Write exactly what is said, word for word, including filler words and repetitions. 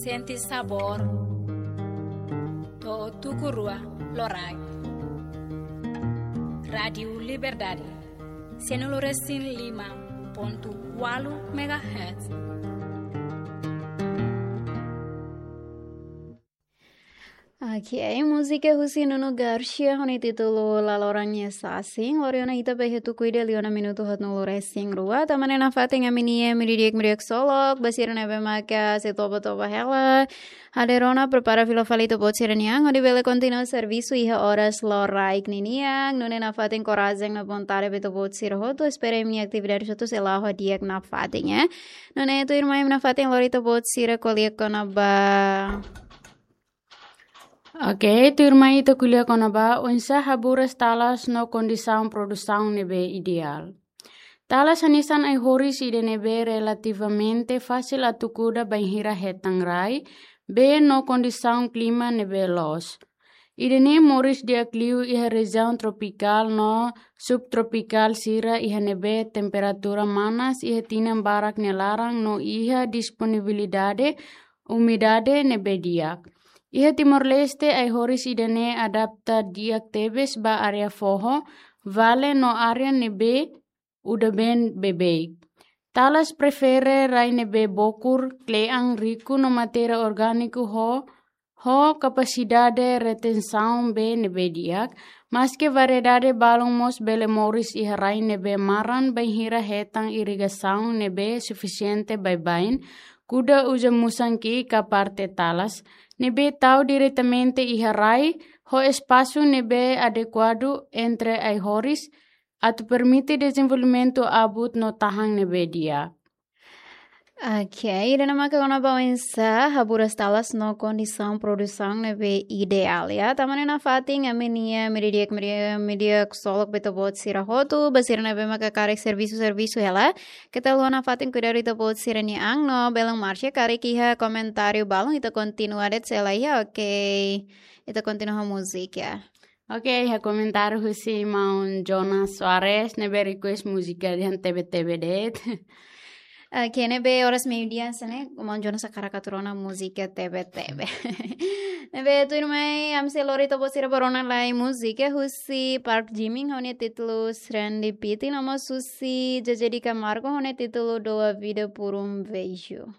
Sente sabór. To'o tuku rua loraik. Rádiu Liberdade. Sianulu-resin-lima pontu ualu megahertz. Ok, múzika husi Nuno Garcia ho nia títulu La Loran Nia Sasin. Lori ona ita ba iha tuku ida liu ona minutu haatnulu-resin-rua. Tanba ne'e nafatin ami-nia media di'ak, media solok, ba sira ne'ebé maka sei toba-toba hela. Hadeer ona prepara fila fali ita-boot sira-nia an, hodi bele kontinua servisu iha oras loraik ninian. Nune'e nafatin korajen no vontade ba ita-boot sira hotu, espera imi-nia atividade hotu sei la'o ho di'ak nafatin, eh. Nune'e tuirmai imi nafatin lori ita-boot sira ko'alia kona-ba. Ok, tuirmai ita ko'alia kona-ba oinsá haburas talas no kondisaun produsaun ne'ebé ideál. Talas hanesan ai-horis ida ne'ebé relativamente fasil atu kuda bainhira hetan rai, bee no kondisaun klima ne'ebé loos. Ida-ne'e moris di'ak liu iha rejiaun tropikál no subtropikál sira iha ne'ebé temperatura manas iha tinan barak nia laran no iha disponibilidade umidade ne'ebé di'ak. Iha Timor-Leste ai-horis ida-ne'e adapta di'ak tebes ba área foho, vale no área ne'ebé udan-been beibeik. Talas prefere rai ne'ebé bokur, kle'an, riku no matéria orgániku ho, ho kapasidade retensaun bee ne'ebé di'ak, maske variedade balun mós bele moris iha rai ne'ebé maran bainhira hetan irrigasaun ne'ebé sufisiente baibain, kuda uza musan ki'ik ka parte talas, ne'ebé tau diretamente iha rai, ho espasu ne'ebé adekuadu entre ai-horis, atu permite dezenvolvimentu abut no tahan ne'ebé di'ak. Ok, ida-ne'e maka kona-ba oinsá haburas talas no kondisaun produsaun ne'ebé ideál, ya. Tanba ne'e nafatin ami-nia media di'ak, media, media solok ba ita-boot sira hotu, ba sira ne'ebé maka karik servisu, servisu hela. Keta haluha nafatin kuidadu ita-boot sira-nia an no belun marxa karik iha komentáriu balun ita kontinua de'it se lae, ya, ok. Ita kontinua ho múzika, ya. Ok, iha komentáriu husi maun Jonas Soares, ne'ebé request múzika dehan Tebe-tebe de'it. Ok, ne'ebé oras meiudia hanesan ne'e, maun Jonas hakarak atu rona múzika Tebe-tebe. Ne'ebé tuirmai, ami sei lori ita-boot sira ba rona lai múzika husi Park Jimin, ho nia títulu Serendipity, no mós husi Zezé de Camargo, ho nia títulu Dou a Vida por um Beijo.